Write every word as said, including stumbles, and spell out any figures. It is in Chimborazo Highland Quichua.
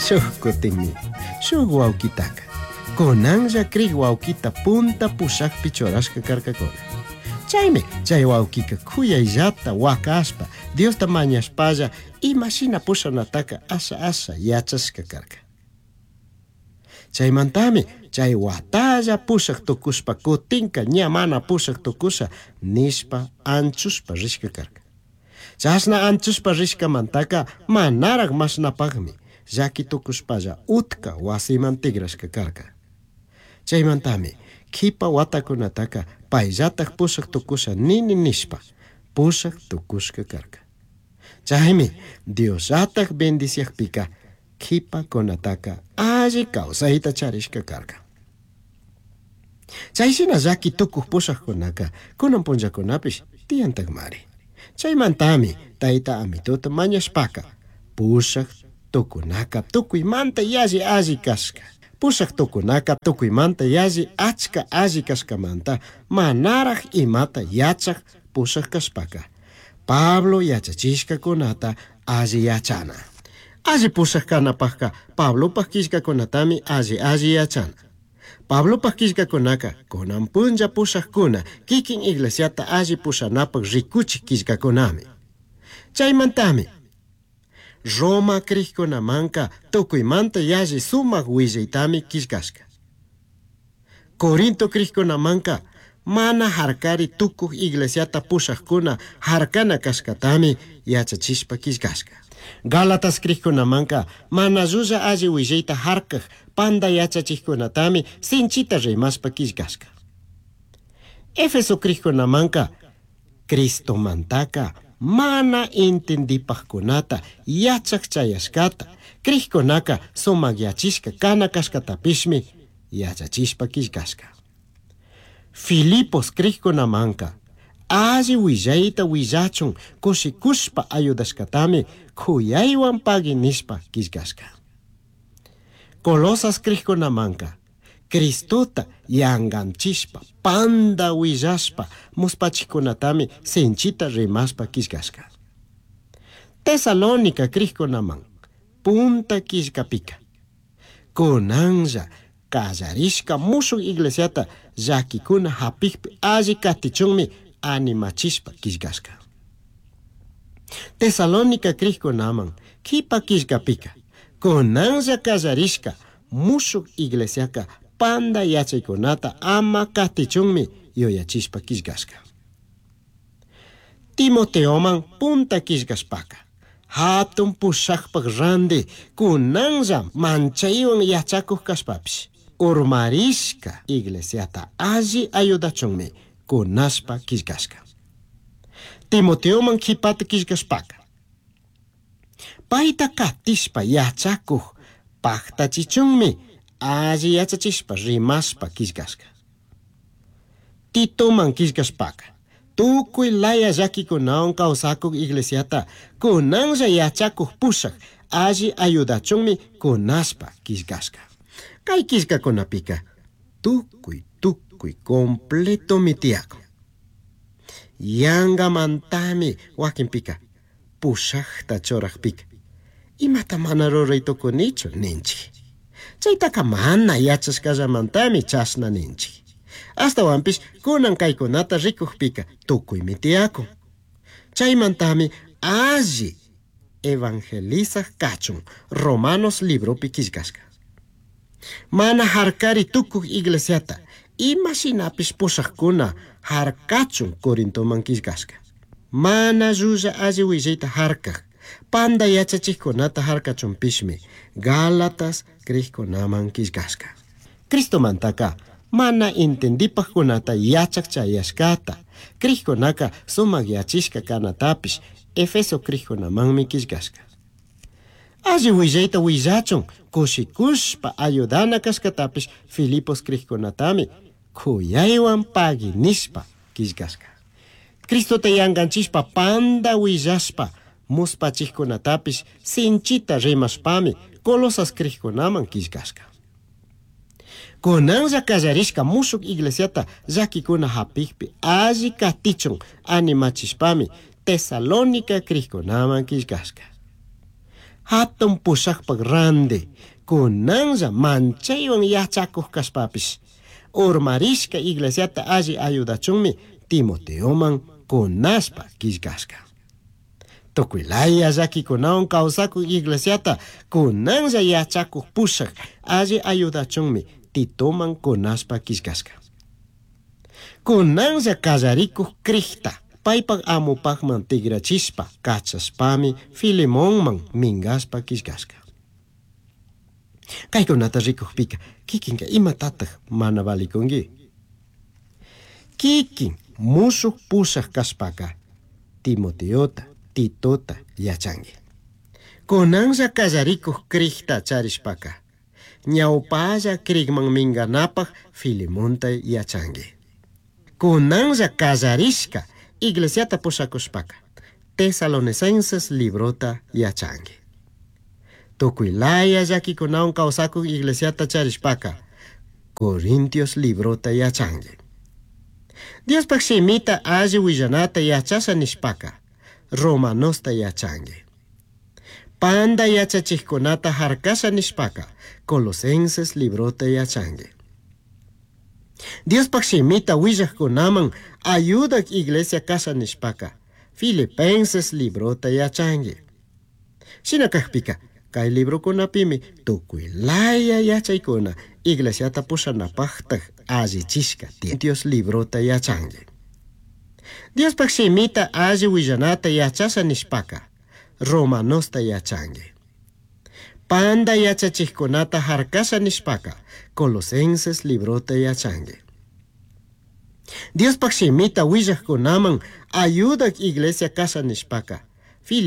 Shuj kutinmi, shuj wawkitaka, kunanlla krik wawkita punta pushakpi churashka karkakuna. Chaymi chay wawkika kuyayllata wakashpa, Diosta mañashpalla imashina pushanataka asha asha yachashka karka. Chaymantami chay watalla pushak tukushpa kutinka ña mana pushak tukusha nishpa anchushpa rishka karka. Chashna anchushpa rishkamantaka manaraq mashnapaqmi llaki tukushpalla utka wasiman tigrashka karka. Chaymantami kipa watakunataka payllatak pushak tukusha nini nishpa pushak tukushka karka. Chaymi Diosllatak bendiciakpika kipakunataka alli kawsayta charishka karka. Chayshina llaki tukuq pushakkunaka kunan punllakunapish tiyantakmari. Chaymantami tayta amituta mañashpaka pushak tukunaka tukuymanta yalli alli kashka. Pushak tukunaka tukuymanta yalli achka alli kashkamanta manaraq imata yachak pushak kashpaka Pablo yachachishkakunata alli yachana. Alli pushak kanapaqka Pablopaq killkakunatami alli alli yachana. Pablopaq killkakunaka kunan punlla pushakkuna kikin iglesiata alli pushanapaq rikuchik killkakunami. Chaymantami Roma krikkunamanka tukuymanta yalli sumak willaytami killkashka. Corinto krikkunamanka mana harkari tukuq iglesiata pushakkuna harkana kashkatami yachachishpa killkashka. Gálatas krikkunamanka mana llulla alli willayta harkaq panda yachachikkunatami sinchita rimashpa killkashka. Éfeso krikkunamanka Cristomantaka mana entendipaqkunata yachaq chayashkata krikkunaka sumakyachishka kana kashkatapishmi yachachishpa killkashka. Filipos krikkunamanka alli willayta willachun kushikushpa ayudashkatami kuyaywan pagui nishpa killkashka. Colosas krikkunamanka Cristota yanganchishpa panda willashpa muspachikunatami sinchita rimashpa killkashka. Tesalónica krikkunaman punta killkapika kunanlla kallarishka mushuk iglesiata llakikuna hapikpi alli katichunmi animachishpa killkashka. Tesalónica krikkunaman kipa killkapika kunanlla kallarishka mushuk iglesiaka panda yachaykunata ama katichunmi yuyachishpa killkashka. Timoteoman punta killkashpaka hatun pushakpak randi kunanlla manchaywan yachakuq kashpapish urmarishka iglesiata alli ayudachunmi kunashpa killkashka. Timoteoman kipata killkashpaka payta katishpa yachakuq paktachichunmi alli yachachishpa rimashpa killkashka. Titoman killkashpaka tukuy laya llakikunawan kawsakuq iglesiata kunanlla yachakuq pushak alli ayudachunmi kunashpa killkashka. Kay killkakunapika tukuy tukuy completomi tiyakun. Yangamantami wakinpika pushakta churaqpika imata mana ruray tukunichu ninchik. Chaytaka mana yachashkallamantami chashna ninchik. Ashtawanpish kunan kaykunata rikukpika tukuymi tiyakun. Chaymantami alli evangelizaq kachun Romanos libropi killkashka. Mana harkari tukuq iglesiata imashinapish pushakkuna harkachun Corintoman killkashka. Mana llulla alli willayta harkaq panda yachachikkunata harkachunpishmi Gálatas krikkunaman killkashka. Cristomantaka mana entendipaqkunata yachaq chayashkata krikkunaka sumakyachishka kanatapish Efeso krikkunamanmi killkashka. Alli willayta willachun kushikushpa ayudana kashkatapish Filipos krikkunatami kuyaywan pagui nishpa killkashka. Cristota yanganchishpa panda willashpa muspachikkunatapish sinchita rimashpami Colosas krikkunaman killkashka. Kunanlla kallarishka mushuk iglesiata llakikuna hapikpi alli katichun animachishpami Tesalónica krikkunaman killkashka. Hatun pushajpak randi kunanlla manchaywan yachakuq kashpapish urmarishka iglesiata alli ayudachunmi Timoteoman kunashpa killkashka. Tukuy laya llakikunawan kawsakuq iglesiata kunanlla yachakuq pushak alli ayudachunmi Titoman kunashpa killkashka. Kunanlla kallarikuq crikta paypak amupakman tigrachishpa kachashpami Filemonman minkashpa killkashka. Kaykunata rikukpika kikinka imatataq mana valikunki? Kikin musuq pushaq kashpaka Timoteota, Titota yachanki. Kunanlla kallarikuq crikta charishpaka ñawpalla crikman minkanapaq Filemonta yachanki. Kunanlla kallarishka iglesiata pushakushpaka Tesalonicenses librota yachanki. Tukuy laya llakikunawan kawsakuq iglesiata charishpaka Corintios librota yachanki. Diospaq shimita alli willanata yachasha nishpaka Romanosta yachanki. Panda yachachikkunata harkasha nishpaka Colosenses librota yachanki. Diospaq shimita willaqkunaman ayudak iglesia kasha nishpaka Filipenses librota yachanki. Shina kakpika kay librokunapimi tukuy laya yachaykuna iglesiata pushanapaqtaq allichishka tiyan. Dios librota yachanki. Diospaq shimita alli willanata yachasha nishpaka Romanosta yachanki. Panda yachachikkunata harkasha nishpaka Colosenses librota yachanki. Diospaq shimita willaqkunaman ayudak iglesia kasha nishpaka